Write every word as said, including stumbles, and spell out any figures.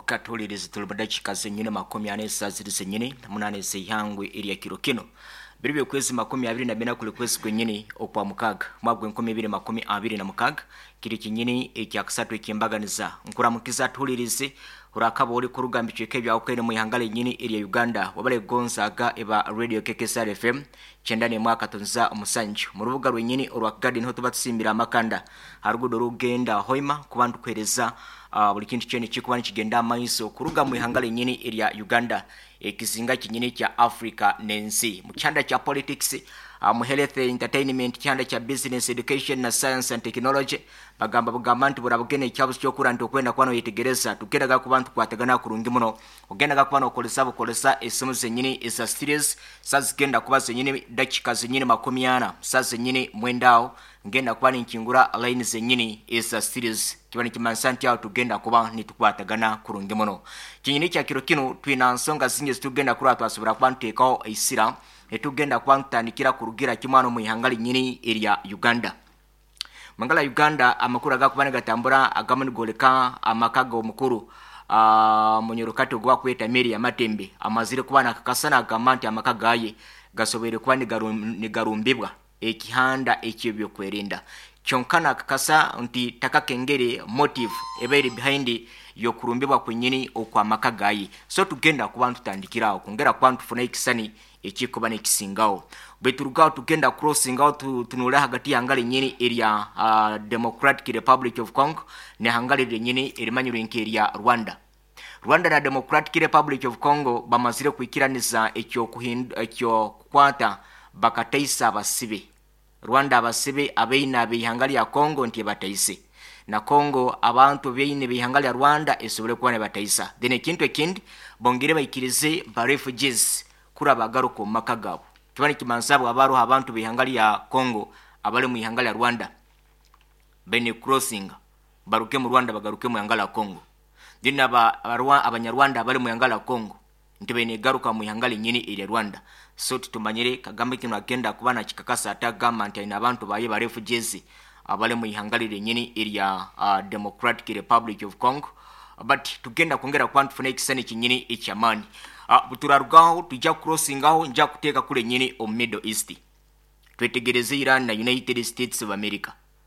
Okatuliriza tuli mu zenyine makumi ane ziri zenyine munane zeihangwe erya kiro kino biri byokwezi makumi abiri na bina kuli kwezi kwenyini okwa mukaga mwaka gwenkumi ibiri makumi abiri na mukaga kiri kinyini ekyakasatu ekyembaganiza. Nkuramukiza tulirize urakaba uri kuruga mbicweke bya ukwene mu ihanga lenyini erya Uganda wabale gonzaga eba radio K K S R F M chenda ne mwaka tunza omusanju mu rubuga rwenyini orwa Garden ho tubatusimbira amakanda harugudo rugenda hoima kubantu kwereza uh, buli kintu kyene kikuba nikigenda amaiso kuruga mu ihanga lenyini erya Uganda ekizinga kinyini kya Africa nensi mu kyanda kya politics, uh, mu health entertainment, kyanda kya business, education na science and technology. Bagamba bugamba nti burabugene ekyabuzo kyokura nti okwenda kwano yetegereza tugendaga ku bantu kwatagana kurungi muno ogendaga kuba nokolesa bukolesa esimu zenyini eza series sazigenda kuba zenyini dakika zenyini makumi ana sazenyini mwendao ngenda kuba ninkingura line zenyini eza series kiba nikimansa nti aho tugenda kuba nitukwatagana kurungi muno. Kinyini kya kiro kino twina nsonga zingi zitugenda kuraba twasobora kuba ntuteekaho eisira etugenda kuba ntutandikira kurugira kimwano mu ihanga linyini erya Uganda. Mangala Uganda amakuru agakuba nigatambura agamu nigoleka amaka g'omukuru uh, munyorokati ogwa kweta Mary Amatembe amazire kuba nakakasana agamba nti amaka gaye gasoboire kuba nigarumbibwa ekihanda eky'ebyokwerinda. Kyonka nakakasa nti takakengere motive ebaire behind yokurumbibwa kwenyini okwamaka gaye. So tugenda kuba ntutandikirawo kongera kuba ntufuna ekisani ekikuba nekisingawo bweturugaho tugenda crossing out tunula hagati ya hangari nyini erya uh, Democratic Republic of Congo ne hangari nyini erimanyirwe nke Rwanda. Rwanda na Democratic Republic of Congo bamazire kuikiraniza ekyo kuhindu ekyo kukwata bakataisa abasibe. Rwanda abasibe abeina abihangari ya Congo nti bataise na Congo abantu beine bihangari ya Rwanda esobole kuba ne bataisa. Then ekintu ekindi bongere baikirize ba refugees kura bagaruko maka gabo. Kibani kimansabo abaru abantu bihangari ya Congo abale mu ihangari ya Rwanda bene crossing baruke mu Rwanda bagaruke mu ihangari ya Congo. Then aba abanyarwanda abale mu ihangari ya Congo nti bene garuka mu ihangari nyini eri Rwanda. So tutumanyire Kagame kino agenda kuba na kikakasa atagamba nti alina abantu baye ba refugees abale mu ihangari nyini eri ya uh, Democratic Republic of Congo. But tugenda kwongera kuba tufune ekisani kinyini ekyamaani. Uh, turarugaho tujja crossingaho nja kuteeka kule nyini omu Middle East twetegereze Iran na United States of America.